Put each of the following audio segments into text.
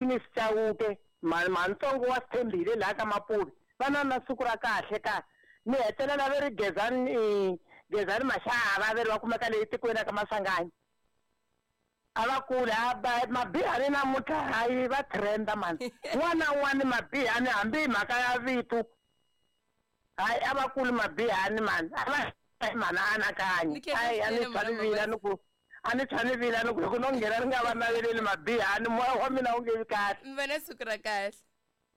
Miss Chauke, mhantsongo wa Sithembile laha ka Mapuve, va na na siku ra kahle ka ni hetelela ve ri Gezani Gezani Mashava ve ri va kumeka le tikweni ra ka Maswanganyi. A va kuli a ba mabihani namuntlha hayi va trenda mani. N'wana na un'wana mabihani hambi hi mhaka ya vito hayi a va kuli mabihani mani a va mhani a anakanyi. Ni khensa Hayi a ni swinene tshwa mhana ni vila Mabasa. ni ku a ni tshwa ni vila ni ku loko no nghena ni nga va naveleli mabihani moya wa mina wu nge vi kahle. Mi va na siku ra kahle.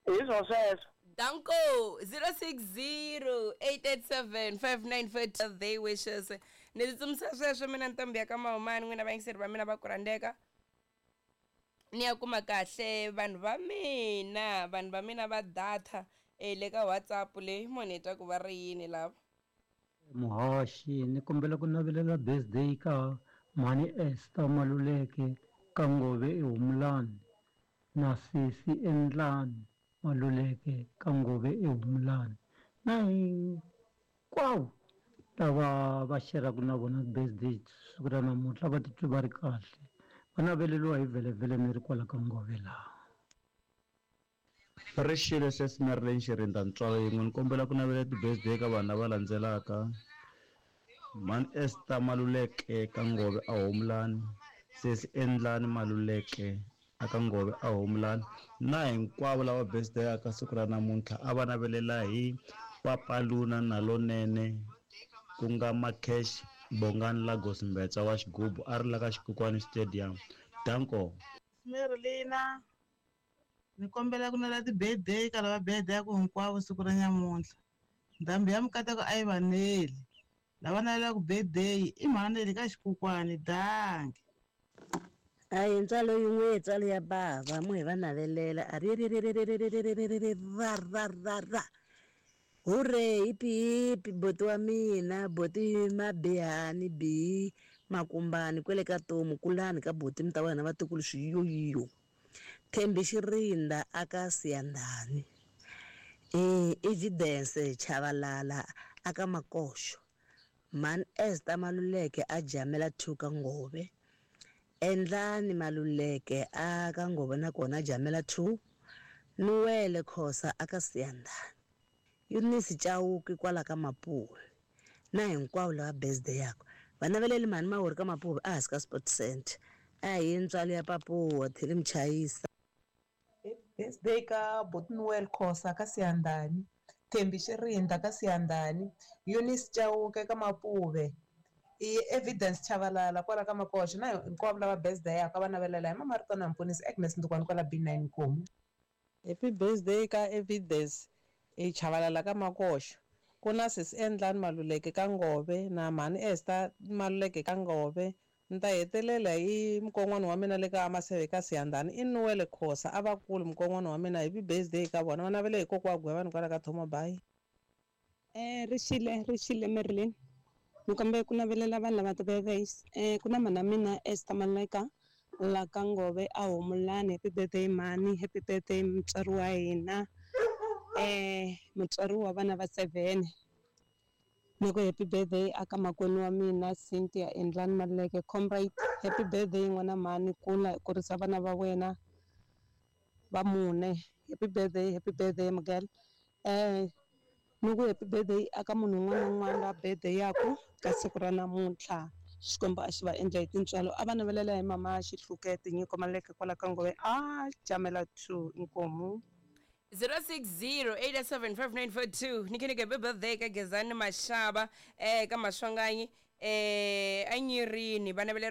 Hi swo sweswo. Danko 0608875942 they wishes. Ni tsutsumisa sweswo mina ntombi ya ka Mahumani n'wina vayingiseri va mina va ku rhandzeka. Ni ya kuma kahle vanhu va mina vanhu va mina va data eh, le ka WhatsApp leyi mo ni twa ku va ri yini lava. Muhaxi ni kombela ku navelela birthday ka mhani Esther Maluleke ka Ngove eHumulani na sesi Endlani Maluleke ka Ngove eHumulani na hinkwavo lava va xeraka na vona birthday siku ra namuntlha va titwi va ri kahle va naveleriwa hi vhelevhele ni ri kwala ka Ngove laha. Ri xile sesi Marilyn Xirinda ntswalo yin'we ni kombela ku navela ti-birthday ka vanhu lava landzelaka mhani Esther Maluleke ka Ngove a Homulani sesi Endlani Maluleke a ka Ngove a Homulani na hinkwavo lava birthday ka siku ra namuntlha a va navelela hi Papaluna na Lonene ku nga Macash Bongani Lagos Mbetsa wa xigubu a ri la ka Xikukwani Stadium danko. Marilina ni kombela ku nela ti-birthday ka lava birthday-aku hinkwavo siku ra nyamuntlha ndhambi ya mikateko a yi va neli lava navelaka birthday i mhani ka xikukwani danki. A hi ntswalo yin'we ntswalo ya bava mo hi va navelela a ri ri ri ri ri ri ri ri ri ri ri ra ra ra ra hure hipi hipi boti wa mina boti mabihani bihi makumbani kwele ka tomu kulani ka boti mi ta wena vatukulu swiyoyiyo Thembi Xirinda aka Siyandhani Evidence Chavalala aka Makoxo Mhani Esther Maluleke a Jamela 2 ka Ngove Endlani Maluleke a ka Ngove na kona a Jamela 2 Nuwele Khosa aka Siyandhani Eunice Chauke kwala ka Mapuve na hinkwavo lava birthday yakwe va naveleli mhani Mawuri ka Mapuve ehansi ka Sport Center a hi ntswalo ya Papuwa Theli Mchayisa. Happy birthday ka Botnwell Khosa ka Siyandhani, Thembi Xirinda ka Siyandhani, Eunice Chauke ka Mapuve, i Evidence Chavalala kwala ka Makoxa na hinkwavo lava birthday yaka va navelela hi Mama Ritona Mponisi Agnes Ndukwani kwala B9 Nkomu. Happy birthday ka Evidence e Chavalala ka Makoxa ku na sesi Endlani Maluleke ka Ngove na mhani Esther Maluleke ka Ngove ni ta hetelela hi mukon'wana wa mina le ka Maseve ka Siyandhani i Nuwele Khosa a va kuli mukon'wana wa mina happy birthday ka vona va navele hi kokwa wa Gwevani kwala ka Thomabayi. Ri xile ri xile Marilyn ni kombela ku navelela vanhu lava ti-birthdays ku na mhana mina Esther Maleka la ka Ngove a Humulani happy birthday mhani happy birthday mutswari wa hina mutswari wa vana va 7 ni ku happy birthday aka makwenu wa mina Cynthia Endlani Maluleke comrade happy birthday n'wana mhani kula kurisa vana va wena va mune happy birthday happy birthday Miguel ni ku happy birthday aka munhu un'wana na un'wana la birthday yaku ka siku ra namuntlha Xikwembu a xi va endla hi tintswalo a va navelela hi mama Xihluke Tinyiko Maluleke kwala ka Ngove a Jamela 2 inkomu. 0608875942 ni kheneke happy birthday ka Gezani Mashaba eh ka Maswanganyi eh anyirini va naveleriwa.